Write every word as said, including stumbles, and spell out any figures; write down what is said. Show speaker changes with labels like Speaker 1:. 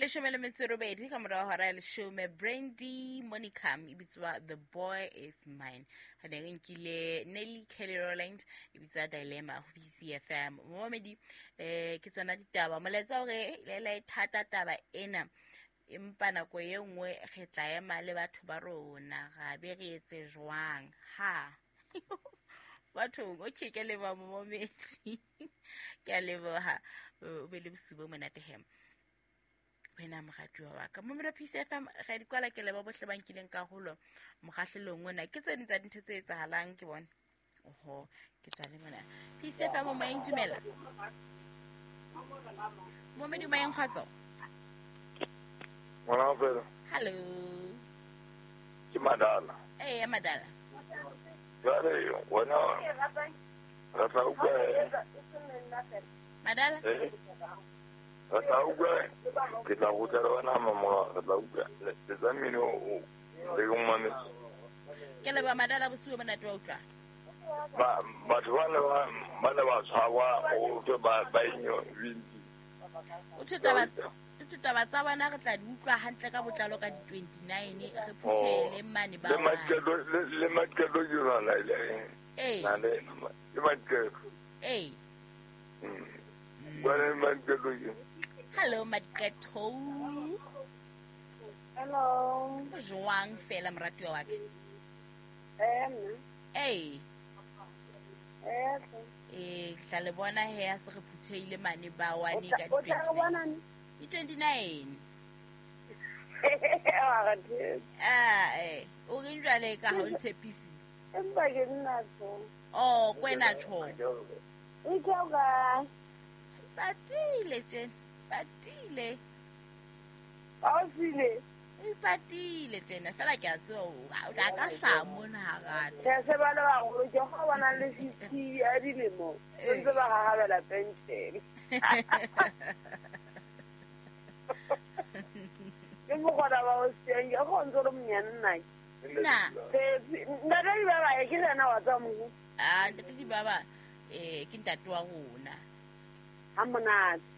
Speaker 1: Leshome le metso e robedi ka morao hora ya leshome. Brandy Monica e bitswa The Boy Is Mine. Re ne re nkile Nelly Kelly Rowland e bitswa Dilemma ho B C F M. Momamedi, um ke tsona ditaba. Molaetsa hore lela e thata taba ena, empa nako e nngwe re tla ema le batho ba rona, ra be re etse jwang ha bathong? Okay, ke a leboha, momamedi, ke a leboha. O be le bosiu bo monate he wena moratuwa wa ka, momelo P C F M. Re di kwala. Ke leba bohle ba nkileng karolo mokgahlelong ona. Ke tse ding tsa dintho tse etsahalang ke bone. Oho, ke tswa le mona P C F M. Moyeng, dumela momedi. Moyeng, kgotso.
Speaker 2: Ngwana fela.
Speaker 1: Hallo.
Speaker 2: Ke Madala.
Speaker 1: Ee, Madala.
Speaker 2: Jwale wena re tla utlwa.
Speaker 1: Madala.
Speaker 2: Eh, re tla utlwa, ke tla rutla le wena mamola, re tla utlwa letsa mmino o le ke mametse.
Speaker 1: Ke leba, Madala, bosiu bo monate wa utlwa.
Speaker 2: Ba batho ba ne ba ba ne ba tshwarwa, o thwe ba ba inyo binti.
Speaker 1: O thwe taba o thwe taba tsa bona re tla di utlwa hantle ka botlalo ka di-twenty-nine, re phuthele mane ba
Speaker 2: Le
Speaker 1: one.
Speaker 2: Maqeto le le Maqeto ke yona le
Speaker 1: Ee.
Speaker 2: na le le Maqeto.
Speaker 1: Ee.
Speaker 2: Ba le Maqeto ke.
Speaker 1: Hello, Maqeto.
Speaker 3: Hello.
Speaker 1: Jwang fela, moratuwa wa ka?
Speaker 3: Eh, nna.
Speaker 1: Ee.
Speaker 3: Eh,
Speaker 1: ee, ke tla le bona he a se re phuthehile mane ba one ka
Speaker 3: o tla re bona neng?
Speaker 1: di-twenty-nine.
Speaker 3: Wa re thetse.
Speaker 1: Ah, eh, o reng jwale ka ha o ntshepise?
Speaker 3: Empa ke nna tho.
Speaker 1: Oh, kwena tjho.
Speaker 3: E ke o kae?
Speaker 1: Patile tjena, patile.
Speaker 3: Ba o sile.
Speaker 1: E patile tjena fela, ke a tseba o tla ka hlaha mona ha rata.
Speaker 3: Tjhe, se ba le baholo ke go bona le fifty ya dilemo. Ba ntse ba gagabela pension. Ke mogona ba o siang ke go ntse re monyane nna.
Speaker 1: Nna.
Speaker 3: Ntate di ba ba ke yena wa tswa mo.
Speaker 1: Ah, ntate di baba, eh, ke ntate wa rona.
Speaker 3: Ha monate.